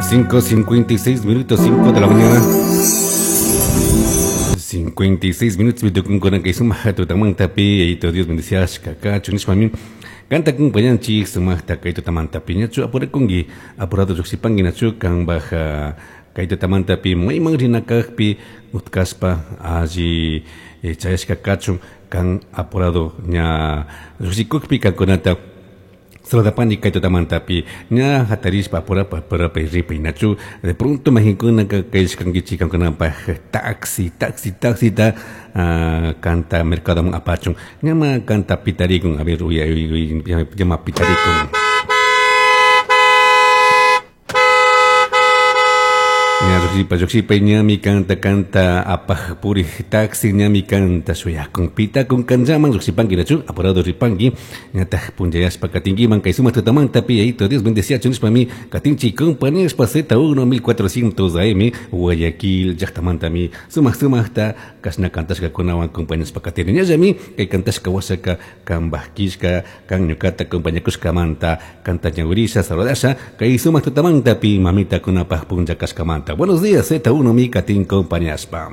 5:56 minutos, 5 de la mañana. 56 minutos mitukunkuna kay sumaq tutamantapi Yayito Dios bendiciashka kachun nishpami kanta kumpañanchik sumaqta kay tutamantapi ñachu apurakunki apurado lluqshipanki nachu kanpaj kay tutamantapi mayman rina kaqpi utkashpa alli chayashka kachun kan apurado ña lluqshikukpi kankunata saludapani kay tutamantapi ña hatarishpa apurapa apurapa ripay nachu de pronto mayqinkunaka kayashkankichik kankunapaj taxi taxi taxita kanta mercadoman apachun ñama kanta pitarikun a ver uy uy ñama pitarikun ña lluqshipa lluqshipa ñami kanta kanta apaj purij taxi ñami kanta shuyakun pitakun kanllaman lluqshipanki nachu apurado ripanki ñataj punllayashpa katinkiman kay sumaq tutamantapi Yayito Dios bendeciachun nishpami katinchik compañíaspa Z1 1400 AM Guayaquil llaqtamantami sumaq sumaqta kashna kantashkakunawan compañashpa katini ñallami kay kantashka washaka kanpaj killka kan ñukata compañakushkamanta kanta ñawirisha saludasha kay sumaq tutamantapi mamitakunapaj punlla kashkamanta. Buenos días, Z1 mi katin compañashpa.